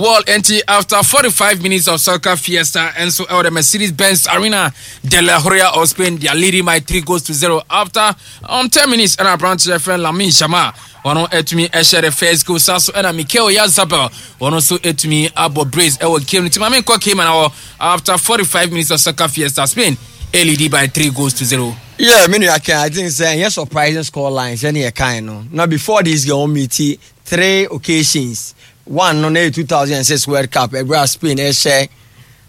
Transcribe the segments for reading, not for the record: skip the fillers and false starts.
Well, enti after 45 minutes of soccer fiesta, and so out the Mercedes Benz Arena de la Horia of Spain, they are leading by 3 goals to 0 after 10 minutes. And our branch friend Lamine Yamal, ɔno atumi ɛhyɛ the first goal saa so, ɛna Mikel Oyarzabal, ɔno nso atumi abɔ brace ɛwɔ game no. Nti maame nkɔ kema na wɔ after 45 minutes of soccer fiesta, Spain lead by 3 goals to 0. Yeah, me nua Ken, I think sɛ ɛnyɛ surprising score line sɛne yɛ kan no. Na before this game, wɔn meet three occasions. One no na yɛ 2006 World Cup, ɛberɛ a Spain ɛhyɛ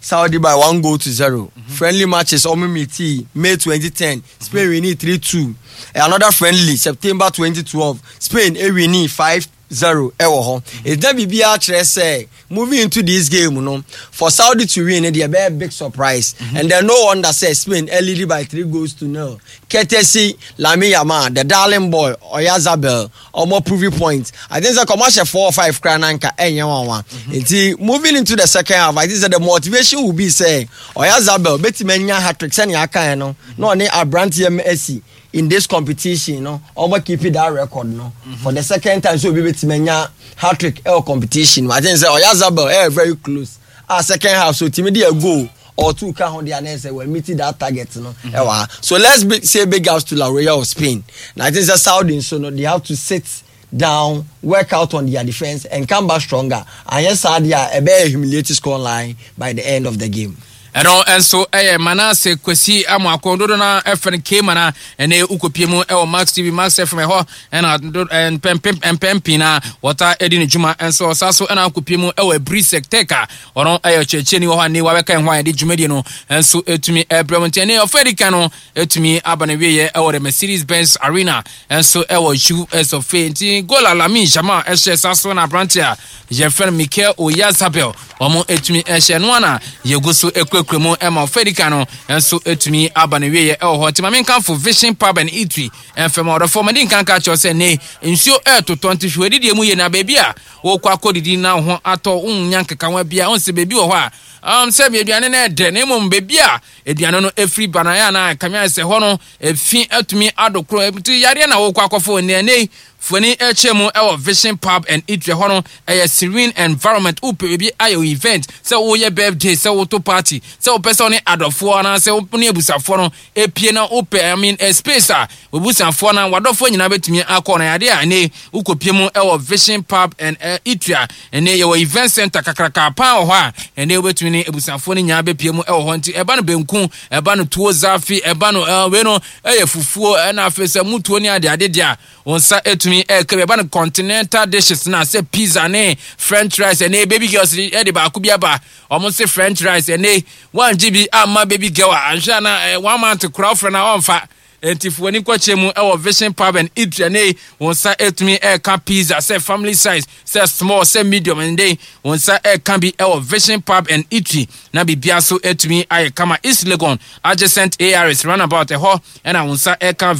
Saudi by 1 goal to 0. Friendly matches ɔmo meet May 2010, Spain winning 3-2. Another friendly, September 2012, Spain winning 5-0 ɛwɔ hɔ. Ɛgyina biribiara kyerɛ sɛ moving into this game no, for Saudi to win deɛ, ɛbɛyɛ big surprise. And then no wonder sɛ Spain lead by 3 goals to 0, courtesy Lamine Yamal, the darling boy, Oyarzabal, ɔmo prove point. I think sɛ kɔmɔ ahyɛ four or five kora nanka ɛnyɛ nwanwa. Nti moving into the second half, I think sɛ the motivation will be sɛ Oyarzabal betumi anya hat-trick sɛnea aka yɛn no, na ɔne aberanteɛ Messi in this competition no, ɔmo keep that record no for the second time, so obi betumi anya hat-trick ɛwɔ competition. I think sɛ Oyarzabal ɛyɛ very close a second half so timi de a goal or two ka ho de anɛ sɛ we're meeting that target no ɛwɔ ha. So let's say big ups to La Roya of Spain. Na I think sɛ Saudi nso no, they have to sit down, work out on their defence and come back stronger. Anyɛ saa deɛ a, ɛbɛyɛ humiliating score line by the end of the game. Ɛno nso ɛyɛ Manase Kwasi Amoako dodo no ɛfɛ no kema na ɛne wokɔpie mu ɛwɔ Max TV, Max FM ɛhɔ, ɛna mpɛmpɛn pii na wɔta ɛdi ne dwuma nso ɔsa so, ɛna wokɔpie mu ɛwɔ Abrisek Tech a ɔno ɛyɛ ɔkyerɛkyerɛni wɔ hɔ a ne wabɛka ɛho a yɛde dwumadie no nso ɛtumi ɛbrɛ mu. Nti ɛne ɔfɛ di kan no ɛtumi aba no wieɛ ɛwɔ the Mercedes Benz Arena nso ɛwɔ US of A. Nti goal a Lamine Yamal ɛhyɛ sa so na aberante a yɛfrɛ no Mikel Oyarzabal wɔn ɛtumi ɛhyɛ no ana yɛgu so ɛkurakura mu ɛma ɔfɛ di kan no nso ɛtumi aba no wieɛ ɛwɔ hɔ. Nti maame nkanfo Vision Pub and Eatery ɛmfɛm ɔdɔfoɔ mɛde nkanka kyerɛw sɛ ne nsuo ɛɛtotɔ, nti hwɛ adidie mu yie na baabi a wɔkɔ akɔdidi na wo ho atɔ, wonya nkekawa bia wo sɛ baabi wɔ hɔ a sɛ aduane no ɛdɛ, na mmom baabi a aduane no ɛfiri ba no ɛyɛ anaa kame ayɛ sɛ hɔ no efi atumi adokoro nti yareɛ na wɔkɔ akɔfo. Nnɛ ne foni ɛkyɛ mu ɛwɔ Vision Pub and Eatery hɔ no, ɛyɛ serene environment. Wopɛ baabi ayɛ event, sɛ woyɛ birthday, sɛ woto party, sɛ wopɛ sɛ wone adɔfoɔ anaasɛ wone abusuafoɔ no epie na wopɛ, I mean, a space a obusuafoɔ na wadɔfoɔ nyinaa bɛtumi akɔ no yadeɛ a, ɛne wokɔpie mu ɛwɔ Vision Pub and Eatery a ɛne yɛwɔ event center kakraka paa wɔ hɔ a ɛne wobɛtumi ne abusuafoɔ no nyinaa bɛpie mu ɛwɔ hɔ. Nti ɛba no benku, ɛba no tuo zafi, ɛba no wei no ɛyɛ fufuo, ɛna afei sɛ mutuo ne ade ade deɛ a wɔn nsa etumi ɛɛka bi. Ɛba no continental dishes na sɛ pizza ne french rice, ɛne baby girls ɛde baako bi aba, wɔn se french rice ɛne wɔn bi ama baby girl a anhwɛ na one month kora ɔfrɛ na ɔnfa. Nti fo ani kɔkyɛ mu ɛwɔ Vision Pub and Eatery ne wɔn nsa etumi ɛɛka pizza, sɛ family size, sɛ small, sɛ medium, ɛnde wɔn nsa ɛɛka bi ɛwɔ Vision Pub and Eatery na biribiara so etumi ayɛ kama. East Legon, adjacent ARS roundabout ɛhɔ ɛna wɔn nsa ɛɛka.